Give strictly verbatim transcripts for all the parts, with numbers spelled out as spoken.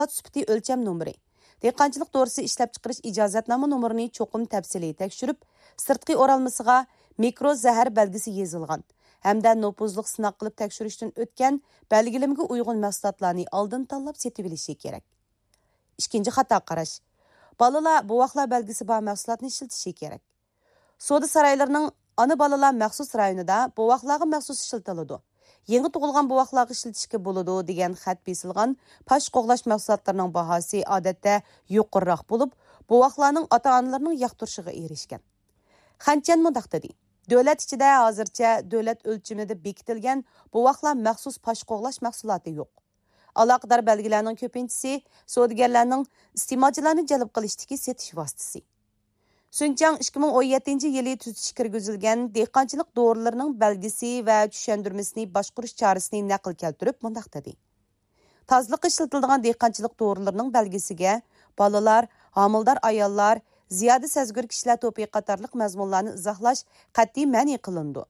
مەھسۇلات سۈپىتى ئۆلچەم نومۇرى، دېھقانچىلىق دورىسى ئىشلەپچىقىرىش ئىجازەتنامە نومۇرىنى چوقۇم تەپسىلىي تەكشۈرۈپ، سىرتقى ئورالمىسىغا مىكرو زەھەر بەلگىسى يېزىلغان ھەمدە نوپۇزلۇق سىناق قىلىپ تەكشۈرۈشتىن ئۆتكەن بەلگىلىمىگە ئۇيغۇن مەھسۇلاتلارنى ئالدىن تاللاپ سېتىۋېلىشى كېرەك. ئىككىنچى خاتا قاراش. بالىلار بوۋاقلار بەلگىسى بار مەھسۇلاتنى ئىشلىتىشى كېرەك. سودا سارايلىرىنىڭ ئانا بالىلار مەخسۇس رايونىدا بوۋاقلارغا مەخسۇس ئىشلىتىلىدۇ، يېڭى تۇغۇلغان بوۋاقلارغا ئىشلىتىشكە بولىدۇ دېگەن خەت بېسىلغان پاش قوغلاش مەھسۇلاتلىرىنىڭ باھاسى ئادەتتە يۇقىرىراق بولۇپ، بوۋاقلارنىڭ ئاتا-ئانىلىرىنىڭ ياقتۇرۇشىغا ئېرىشكەن. خەنچيەن مۇنداق دېدى، دۆلەت ئىچىدە ھازىرچە دۆلەت ئۆلچىمىدە بېكىتىلگەن بوۋاقلار مەخسۇس پاش قوغلاش مەھسۇلاتى يوق. ئالاقىدار بەلگىلەرنىڭ كۆپىنچىسى سودىگەرلەرنىڭ ئىستېمالچىلارنى جەلپ قىلىشتىكى سېتىش ۋاسىتىسى. سۈنچاڭ ئىككى مىڭ ئون يەتتىنچى يىلى تۈزىتىش كىرگۈزۈلگەن دېھقانچىلىق دورىلىرىنىڭ بەلگىسى ۋە چۈشەندۈرمىسىنى باشقۇرۇش چارىسىنى نەقىل كەلتۈرۈپ مۇنداق دېدى، تازىلىققا ئىشلىتىلىدىغان دېھقانچىلىق دورىلىرىنىڭ بەلگىسىگە بالىلار، ھامىلىدار ئاياللار، زىيادە سەزگۈر كىشىلەر توپى قاتارلىق مەزمۇنلارنى ئىزاھلاش قەتئىي مەنئى قىلىنىدۇ.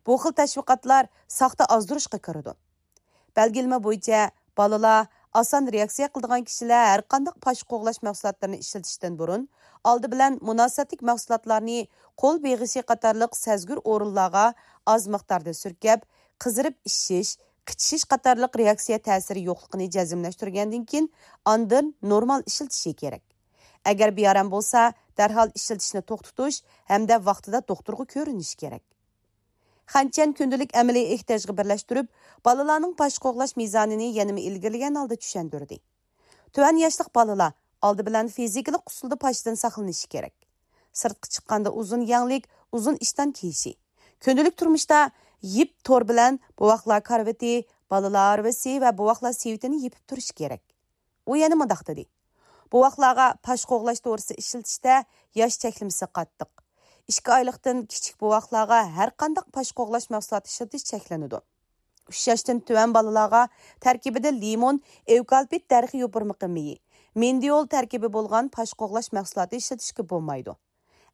بۇ خىل تەشۋىقاتلار ساختا ئازدۇرۇشقا كىرىدۇ. بەلگىلىمە بويىچە، بالىلار، ئاسان رېئاكسىيە قىلىدىغان كىشىلەر ھەرقانداق پاش قوغلاش مەھسۇلاتلىرىنى ئىشلىتىشتىن بۇرۇن، ئالدى بىلەن مۇناسىۋەتلىك مەھسۇلاتلارنى قول بېغىشى قاتارلىق سەزگۈر ئورۇنلارغا ئاز مىقداردا سۈركەپ، قىزىرىپ ئىششىش، قىچىشىش قاتارلىق رېئاكسىيە تەسىرى يوقلۇقىنى جەزملەشتۈرگەندىن كېيىن، ئاندىن نورمال ئىشلىتىشى كېرەك. ئەگەر بىئارام بولسا، دەرھال ئىشلىتىشنى توختىتىش ھەمدە ۋاقتىدا دوختۇرغا كۆرۈنۈش كېرەك. خەنچيەن كۈندىلىك ئەمەلىي ئېھتىياجغا بىرلەشتۈرۈپ، بالىلارنىڭ پاش قوغلاش مىزانىنى يەنىمۇ ئىلگىرىلىگەن ھالدا چۈشەندۈردى. تۆۋەن ياشلىق بالىلار ئالدى بىلەن فىزىكىلىق ئۇسۇلدا پاشتىن ساقلىنىشى كېرەك. سىرتقا چىققاندا ئۇزۇن يەڭلىك، ئۇزۇن ئىشتان كىيىشى. كۈندىلىك تۇرمۇشتا يىپ تور بىلەن بوۋاقلار كارىۋىتى، بالىلار ھارۋىسى ۋە بوۋاقلار سېۋىتىنى يېپىپ تۇرۇشى كېرەك. ئۇ يەنە مۇنداق دېدى، بوۋاقلارغا پاش قوغلاش دورىسى ئىشلىتىشتە ياش چەكلىمىسى قاتتىق. ئىككى ئايلىقتىن كىچىك بوۋاقلارغا ھەرقانداق پاش قوغلاش مەھسۇلاتى ئىشلىتىش چەكلىنىدۇ. ئۈچ ياشتىن تۆۋەن بالىلارغا تەركىبىدە لىمون، ئېۋكالىپت دەرىخى يوپۇرمىقى مېيى، مېندىئول تەركىبى بولغان پاش قوغلاش مەھسۇلاتى ئىشلىتىشكە بولمايدۇ.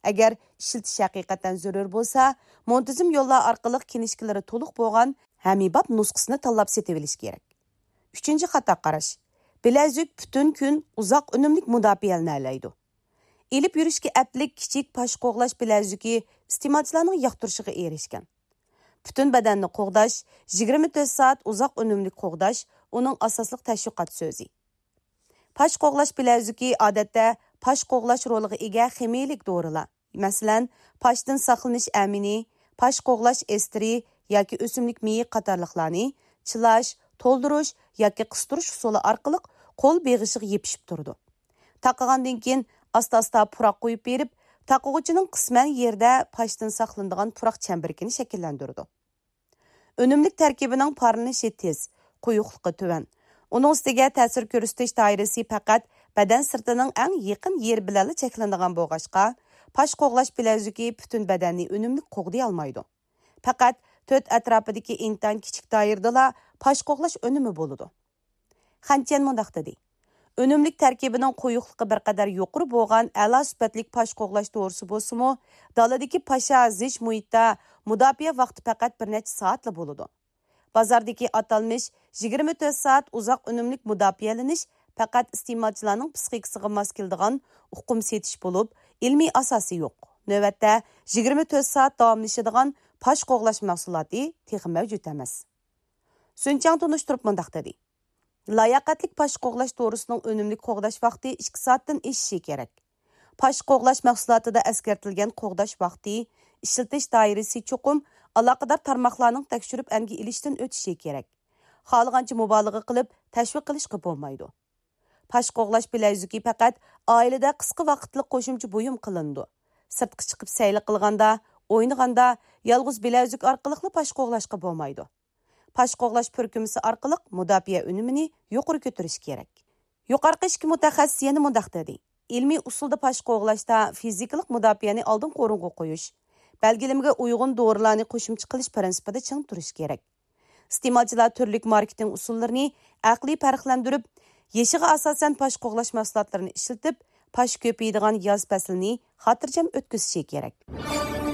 ئەگەر ئىشلىتىش ھەقىقەتەن زۆرۈر بولسا، مۇنتىزىم يوللار ئارقىلىق كىنىشكىلىرى تولۇق بولغان ھەممىباب نۇسخىسىنى تاللاپ سېتىۋېلىش كېرەك. ئۈچىنچى خاتا قاراش. بىلەزۈك پۈتۈن كۈن ئۇزاق ئۈنۈملۈك مۇداپىئەلىنەلەيدۇ. ئېلىپ يۈرۈشكە ئەپلىك كىچىك پاش قوغلاش بىلەزۈكى ئىستېمالچىلارنىڭ ياقتۇرۇشىغا ئېرىشكەن. پۈتۈن بەدەننى قوغداش، يىگىرمە تۆت سائەت ئۇزاق ئۈنۈملۈك قوغداش ئۇنىڭ ئاساسلىق تەشۋىقات سۆزى. پاش قوغلاش بىلەزۈكى ئادەتتە پاش قوغلاش رولىغا ئىگە خىمىيىلىك دورىلار، مەسىلەن، پاشتىن ساقلىنىش ئەمىنى، پاش قوغلاش ئېستېرى ياكى ئۆسۈملۈك مېيى قاتارلىقلارنى چىلاش، تولدۇرۇش ياكى قىستۇرۇش ئۇسۇلى ئارقىلىق قول بېغىشىغا يېپىشىپ تۇرىدۇ. تاقىغاندىن كېيىن ئاستا-ئاستا پۇراق قويۇپ بېرىپ، تاقىغۇچىنىڭ قىسمەن يېرىدە پاشتىن ساقلىنىدىغان پۇراق چەمبىرىكىنى شەكىللەندۈرىدۇ. ئۈنۈملۈك تەركىبىنىڭ پارلىنىشى تېز، قويۇقلۇقى تۆۋەن. ئۇنىڭ ئۈستىگە تەسىر كۆرسىتىش دائىرىسى پەقەت بەدەن سىرتىنىڭ ئەڭ يېقىن يېرى بىلەنلا چەكلىنىدىغان بولغاچقا، پاش قوغلاش بىلەزۈكى پۈتۈن بەدەننى ئۈنۈملۈك قوغدىيالمايدۇ. پەقەت تۆت ئەتراپىدىكى ئىنتايىن كىچىك دائىرىدىلا پاش قوغلاش ئۈنۈمى بولىدۇ. خەنچيەن مۇنداق دېدى، ئۈنۈملۈك تەركىبىنىڭ قويۇقلۇقى بىر قەدەر يۇقىرى بولغان ئەلا سۈپەتلىك پاش قوغلاش دورىسى بولسىمۇ، دالىدىكى پاشا زىچ مۇھىتتا مۇداپىئە ۋاقتى پەقەت بىر نەچچە سائەتلا بولىدۇ. بازاردىكى ئاتالمىش يىگىرمە تۆت سائەت ئۇزاق ئۈنۈملۈك مۇداپىئەلىنىش پەقەت ئىستېمالچىلارنىڭ پىسخىكىسىغا ماس كېلىدىغان ئۇقۇم سېتىش بولۇپ، ئىلمىي ئاساسى يوق. نۆۋەتتە يىگىرمە تۆت سائەت داۋاملىشىدىغان پاش قوغلاش مەھسۇلاتى تېخى مەۋجۇت ئەمەس. سۈنچاڭ تونۇشتۇرۇپ مۇنداق دېدى، لاياقەتلىك پاش قوغلاش دورىسىنىڭ ئۈنۈملۈك قوغداش ۋاقتى ئىككى سائەتتىن ئېشىشى كېرەك. پاش قوغلاش مەھسۇلاتىدا ئەسكەرتىلگەن قوغداش ۋاقتى، ئىشلىتىش دائىرىسى چوقۇم ئالاقىدار تارماقلارنىڭ تەكشۈرۈپ ئەنگە ئېلىشتىن ئۆتۈشى كېرەك. خالىغانچە مۇبالىغە قىلىپ تەشۋىق قىلىشقا بولمايدۇ. پاش قوغلاش بىلەزۈكى پەقەت ئائىلىدە قىسقا ۋاقىتلىق قوشۇمچە بۇيۇم قىلىنىدۇ. سىرتقا چىقىپ سەيلە قىلغاندا، ئوينىغاندا يالغۇز بىلەزۈك ئارقىلىقلا پاش قوغلاشقا بولمايدۇ. پاش قوغلاش پۈركۈمىسى ئارقىلىق مۇداپىئە ئۈنۈمىنى يۇقىرى كۆتۈرۈش كېرەك. يۇقىرىقى ئىككى مۇتەخەسسىس يەنە مۇنداق دېدى، ئىلمىي ئۇسۇلدا پاش قوغلاشتا فىزىكىلىق مۇداپىئەنى ئالدىنقى ئورۇنغا قويۇش، بەلگىلىمىگە ئۇيغۇن دورىلارنى قوشۇمچە قىلىش پىرىنسىپىدا چىڭ تۇرۇش كېرەك. ئىستېمالچىلار تۈرلۈك ماركېتىنگ ئۇسۇللىرىنى ئەقلىي پەرقلەندۈرۈپ، يېشىغا ئاساسەن پاش قوغلاش مەھسۇلاتلىرىنى ئىشلىتىپ، پاش كۆپىيىدىغان ياز پەسلىنى خاتىرجەم ئۆتكۈزۈشى كېرەك.